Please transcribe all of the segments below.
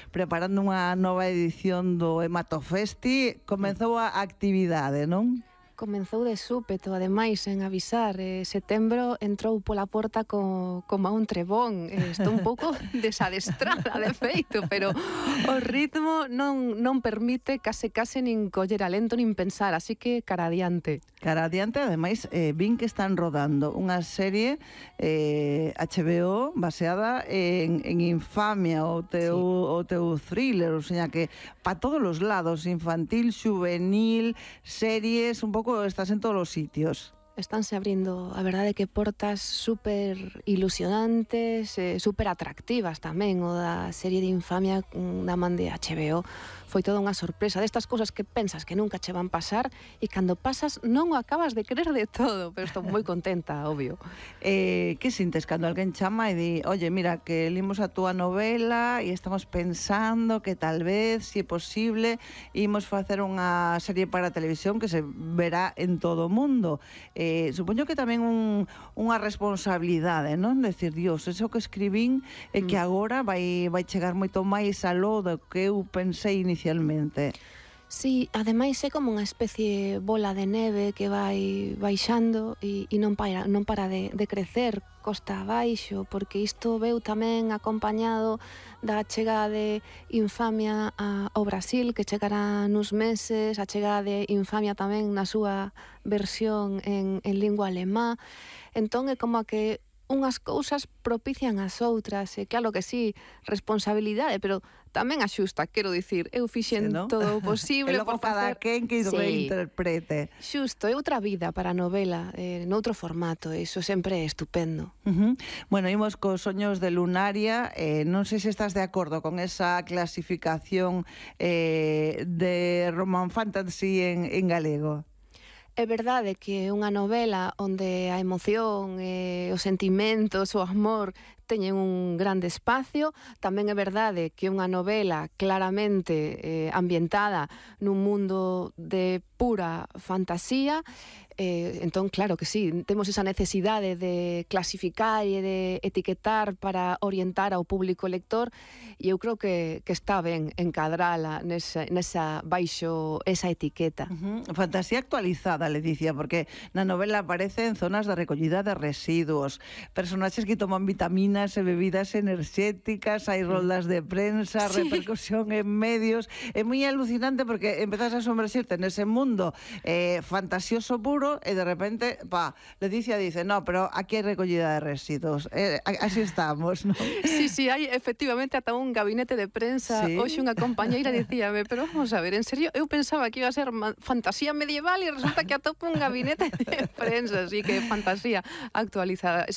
preparando unha nova edición do Hematofesti. Comezou a actividade, non? Comenzou de súpeto, ademais, en avisar. Setembro entrou pola porta como un trebón. Estou un pouco desadestrada, de feito, pero o ritmo non permite case nin coller alento nin pensar, así que cara adiante. Cara adiante, ademais, vin que están rodando unha serie HBO baseada en Infamia, o teu thriller, o sea que pa todos os lados, infantil, juvenil, series, un pouco estás en todos os sitios. Estánse abrindo, a verdade, que portas super ilusionantes, super atractivas tamén. O da serie de Infamia da man de HBO foi toda unha sorpresa, destas cousas que pensas que nunca che van pasar e cando pasas non o acabas de creer de todo, pero estou moi contenta, obvio. Que sintes cando alguén chama e di, oye, mira, que limos a túa novela e estamos pensando que tal vez, se é posible, imos facer unha serie para a televisión que se verá en todo o mundo. Supoño que tamén unha responsabilidade, non? Decir, Dios, eso que escribín é que agora vai chegar moito máis aló do que eu pensei inicialmente. Sí, ademais é como unha especie bola de neve que vai baixando e non para de crecer costa abaixo, porque isto veu tamén acompañado da chegada de Infamia ao Brasil, que chegará nuns meses, a chegada de Infamia tamén na súa versión en lingua alemá. Entón é como que unhas cousas propician as outras, e claro que sí, responsabilidade, pero tamén axusta, quero dicir, eu fixen todo o posible. E logo cada quen que reinterprete. Xusto, é outra vida para a novela, noutro formato, iso sempre é estupendo. Bueno, imos cos Soños de Lunaria, non sei se estás de acordo con esa clasificación de Roman Fantasy en galego. É verdade que é unha novela onde a emoción, os sentimentos, o amor teñen un grande espacio. Tamén é verdade que é unha novela claramente ambientada nun mundo de pura fantasía. Entón, claro que sí, temos esa necesidade de clasificar e de etiquetar para orientar ao público lector, e eu creo que está ben encadrala nesa baixo esa etiqueta. Fantasía actualizada, le dicía, porque na novela aparecen zonas de recollida de residuos, personaxes que toman vitaminas e bebidas enerxéticas, hai roldas de prensa, repercusión en medios. É moi alucinante porque empezas a somerxirte nese mundo fantasioso puro, e de repente, Leticia dice, no, pero aquí hai recollida de residuos. Así estamos, non? Sí, hai efectivamente ata un gabinete de prensa. Hoxe unha compañeira dicíame, pero vamos a ver, en serio, eu pensaba que iba a ser fantasía medieval e resulta que atopo un gabinete de prensa, así que fantasía actualizada.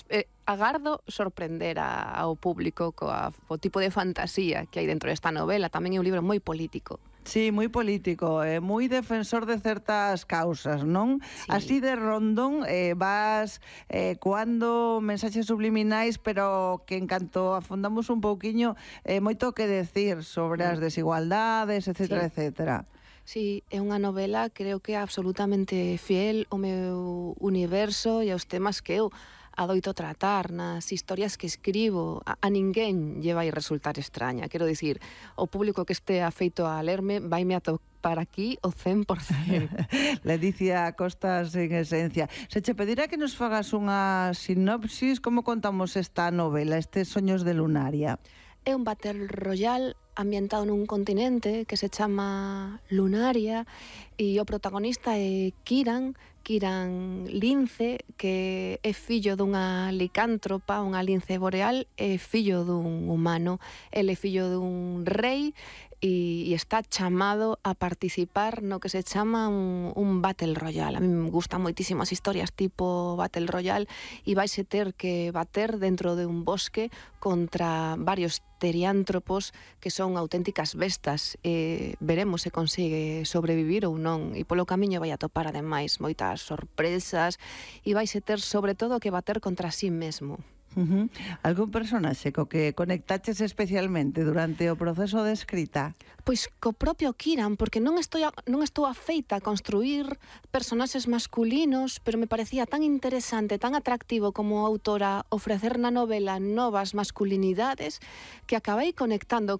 Agardo sorprender ao público co tipo de fantasía que hai dentro desta novela. Tamén é un libro moi político. Sí, moi político, moi defensor de certas causas, non? Sí. Así de rondón vas coando mensaxes subliminais, pero que en canto afondamos un pouquiño, moito que decir sobre as desigualdades, etcétera, etcétera. Sí, é unha novela, creo que é absolutamente fiel ao meu universo e aos temas que eu adoito tratar nas historias que escribo. A ninguén lle vai resultar extraña. Quero dicir, o público que este afeito a lerme vaime a topar aquí o 100%. Leticia Costas, en esencia. Se che pedirá que nos fagas unha sinopsis, como contamos esta novela, estes Soños de Lunaria? É un Battle Royale ambientado nun continente que se chama Lunaria, e o protagonista é Kiran Lince, que é fillo dunha licántropa, unha lince boreal, é fillo dun humano. Ele é fillo dun rei e está chamado a participar no que se chama un Battle Royale. A mí me gustan moitísimo as historias tipo Battle Royale, e vaise ter que bater dentro de un bosque contra varios teriántropos que son auténticas bestas. Veremos se consigue sobrevivir ou non, e polo camiño vai atopar ademais moitas sorpresas, e vaise ter sobre todo que bater contra sí mesmo. Algún personaxe co que conectaches especialmente durante o proceso de escrita? Pois co propio Kieran, porque non estou afeita a construir personaxes masculinos, pero me parecía tan interesante, tan atractivo como autora ofrecer na novela novas masculinidades que acabei conectando